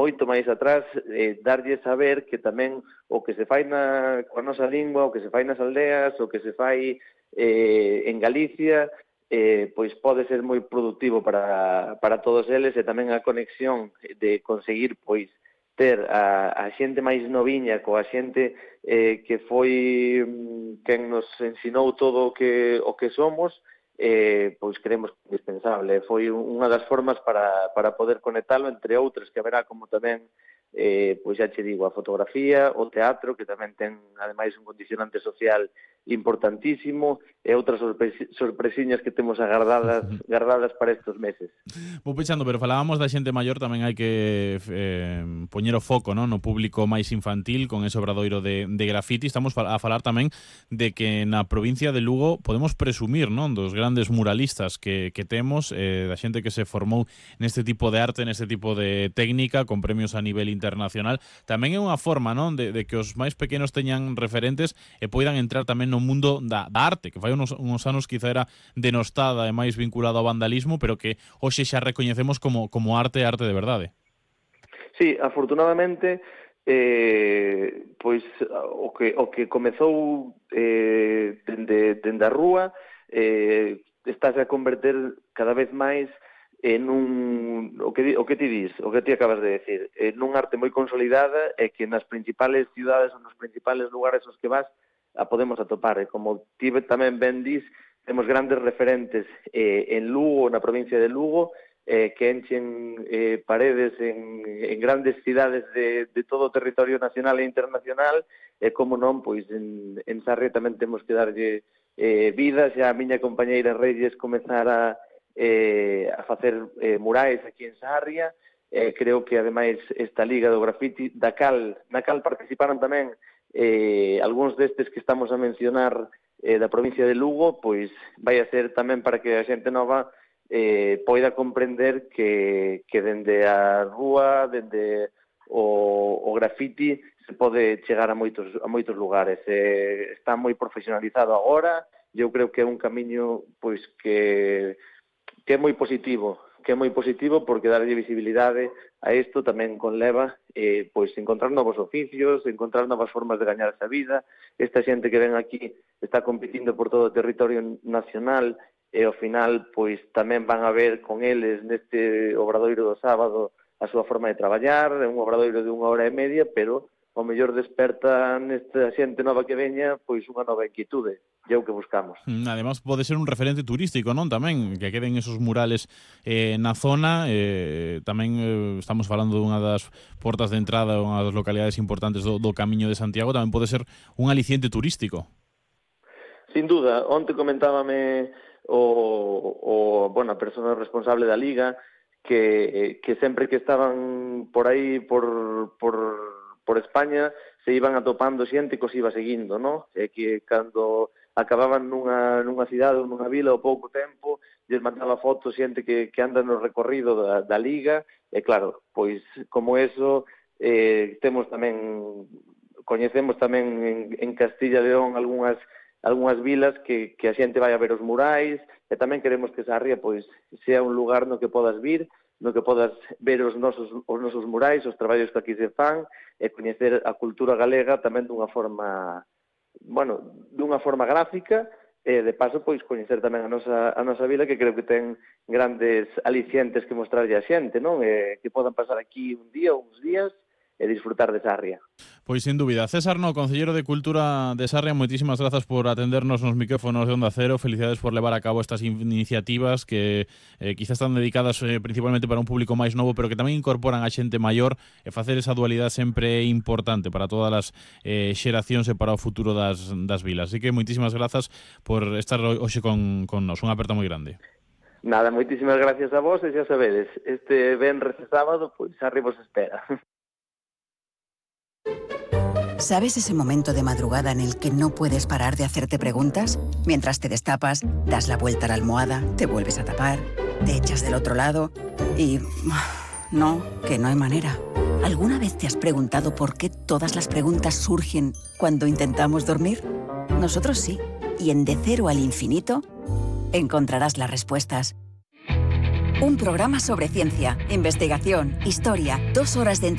moito máis atrás, darlle saber que tamén o que se fai coa nosa lingua, o que se fai nas aldeas, o que se fai en Galicia, pois pode ser moi productivo para todos eles, e tamén a conexión de conseguir pois ter a xente máis noviña coa xente que foi quen nos ensinou todo o que somos, pois creemos que é indispensable. Foi unha das formas para poder conectalo, entre outras, que haberá como tamén, pois xa che digo, a fotografía, o teatro, que tamén ten, ademais, un condicionante social importantísimo, e outras sorpresiñas que temos agardadas para estes meses. Vou pechando, pero falábamos da xente maior, tamén hai que poñer o foco, non, no público máis infantil con ese obradoiro de graffiti. Estamos a falar tamén de que na provincia de Lugo podemos presumir, non, dos grandes muralistas que temos, da xente que se formou neste tipo de arte, neste tipo de técnica, con premios a nivel internacional. Tamén é unha forma, non, de que os máis pequenos teñan referentes e poidan entrar tamén no mundo da arte, que fai uns anos quizá era denostada e máis vinculado ao vandalismo, pero que hoxe xa recoñecemos como arte de verdade. Sí, afortunadamente, pois o que comezou dende a rúa estáse a converter cada vez máis en o que ti dis, o que ti acabas de decir, nun arte moi consolidada, e que nas principales cidades ou nos principales lugares aos que vas a podemos atopar. E como ti tamén ben dis, temos grandes referentes en Lugo, na provincia de Lugo, que enchen paredes en grandes cidades de todo o territorio nacional e internacional, e como non, pois en Sarria tamén temos que darlle vida. Xa a miña compañeira Reyes comezara a facer murais aquí en Sarria. Creo que ademais esta Liga do Graffiti na cal participaron tamén algúns destes que estamos a mencionar da provincia de Lugo, pois vai a ser tamén para que a xente nova poida comprender que dende a rúa, dende o graffiti, se pode chegar a moitos lugares. Está moi profesionalizado agora, e eu creo que é un camiño pois que é moi positivo, porque darlle visibilidade a isto tamén conleva pois encontrar novos oficios, encontrar novas formas de gañar esa vida. Esta xente que ven aquí está competindo por todo o territorio nacional, e ao final pois tamén van a ver con eles neste obradoiro do sábado a súa forma de traballar. É un obradoiro de 1 hora e media, pero ao mellor desperta nesta xente nova que veña pois unha nova inquietude. E é o que buscamos. Además, pode ser un referente turístico, non? Tamén, que queden esos murales na zona. Tamén estamos falando dunha das portas de entrada, unha das localidades importantes do Camiño de Santiago. Tamén pode ser un aliciente turístico. Sin duda. Onte comentábame a persona responsable da Liga que sempre que estaban por aí por España se iban atopando xente que os iba seguindo, non? E que cando acababan nunha cidade ou nunha vila ao pouco tempo, lles mandaba fotos xente que anda no recorrido da Liga. E claro, pois como eso coñecemos tamén en Castilla e León algunhas vilas que a xente vai a ver os murais, e tamén queremos que Sarria pois sea un lugar no que podas vir, no que podas ver os nosos murais, os traballos que aquí se fan, e coñecer a cultura galega tamén dunha forma gráfica, e de paso pois coñecer tamén a nosa vila, que creo que ten grandes alicientes que mostrarlle a xente, non? Que podan pasar aquí un día ou uns días e disfrutar de Sarria. Pois sin dúbida. César No, Concelleiro de Cultura de Sarria, moitísimas grazas por atendernos nos micrófonos de Onda Cero. Felicidades por levar a cabo estas iniciativas que quizás están dedicadas principalmente para un público máis novo, pero que tamén incorporan a xente maior, e facer esa dualidade sempre é importante para todas as xeracións e para o futuro das vilas. Así que moitísimas grazas por estar hoxe con nos. Unha aperta moi grande. Nada, moitísimas gracias a vos, e xa sabedes, este venres e sábado, pois Sarria vos espera. ¿Sabes ese momento de madrugada en el que no puedes parar de hacerte preguntas? Mientras te destapas, das la vuelta a la almohada, te vuelves a tapar, te echas del otro lado y... No, que no hay manera. ¿Alguna vez te has preguntado por qué todas las preguntas surgen cuando intentamos dormir? Nosotros sí. Y en De Cero al Infinito encontrarás las respuestas. Un programa sobre ciencia, investigación, historia, 2 horas de